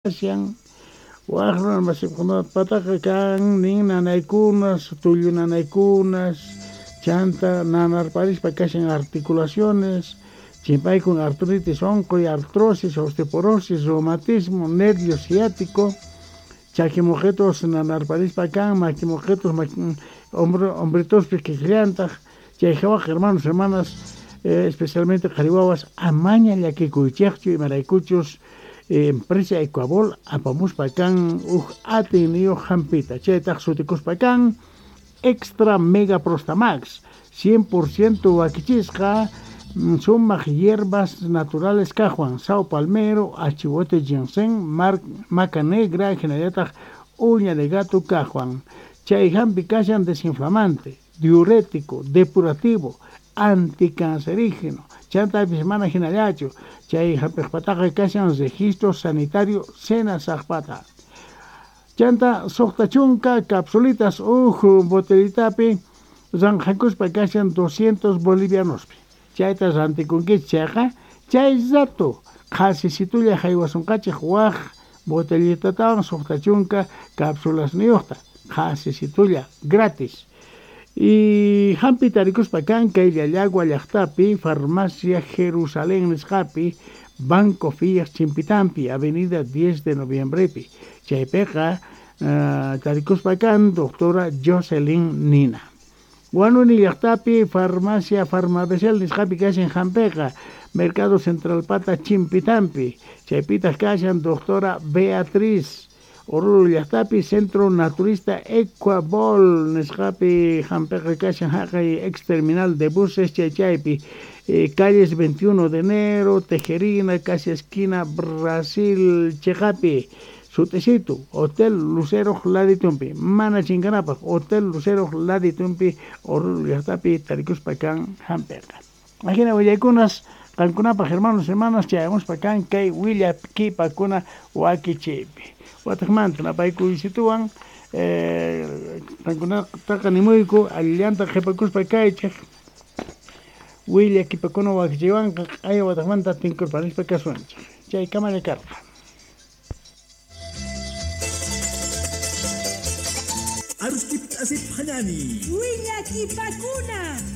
Kashan waj runa masikunapataqa kan nin nanaykunas, tullu nanaykunas, chanta nanarparispa kashan articulaciones, chimpaykun artritis onqoy, artrosis, osteoporosis, reumatismo, nervio ciático, chaki moqetos nanarparispa kan, maki moqetos, hombritospi kikillantaj, chay jawaj hermanos, hermanas, especialmente qhari wawas, amaña llakikuychejchu imaraykuchus empresa Ecuabol apamuspa kan uj atiyniyoj jampita, chaytaj sutikuspa kan Extra Mega Prostamax, 100% wakichisqa sumaq hierbas naturales kajwan, sao palmero, achihuete ginseng, maca negra, jinallataj uña de gato kajwan. Chay jampi kashan desinflamante, diurético, depurativo, anticancerígeno, chantapis mana jinallachu, chay jampejpataqa kashan registro sanitario Senasajpata. Chanta sojta chunka capsulitas uj botellitapi ranjakuspa kashan 200 bolivianospi. Chayta rantikunkichej chayqa, chay rato qhasisitulla jaywasunqachej waj botellitatawan sojta chunka capsulasniyojta, qhasisitulla gratis. Y jampi tarikuspa kan kay Llallagua llaqtapi, Farmacia Jerusalén nisqapi, Banco Fiat Chimpitampi, Avenida 10 de Noviembrepi. Chaypiqa tarikuspa kan doctora Jocelyn Nina. Huanuni llaqtapi, Farmacia Farmabesel nisqapi kashan jampiqa, Mercado Central Pata Chimpitampi. Chaypitaq kashan doctora Beatriz. Oruro llaqtapi, Centro Naturista Ecuabol nisqapi jampiqa kashan jaqay ex terminal de buses chaychaypi, calles 21 de enero, Tejerina, casi esquina Brasil cheqapi, sut'isitu, Hotel Lucero laditumpi, mana chinkanapaj, Hotel Lucero laditumpi, Oruro llaqtapi tarikuspa kan jampiqa. Ajina willaykunas qankunapaj hermanos, hermanas, chayamuspa kan kay willakipakuna wakichiypi. Wataqmanta napaykuyshituwan qankunataqa nimuyku allillanta qhipakuspa kaychej willakipakuna wakichiywanqa q'aya wataqmanta tinkurparispa kasunchej. Chay kamalla karqa. Arustip asip hanani. Willakipakuna.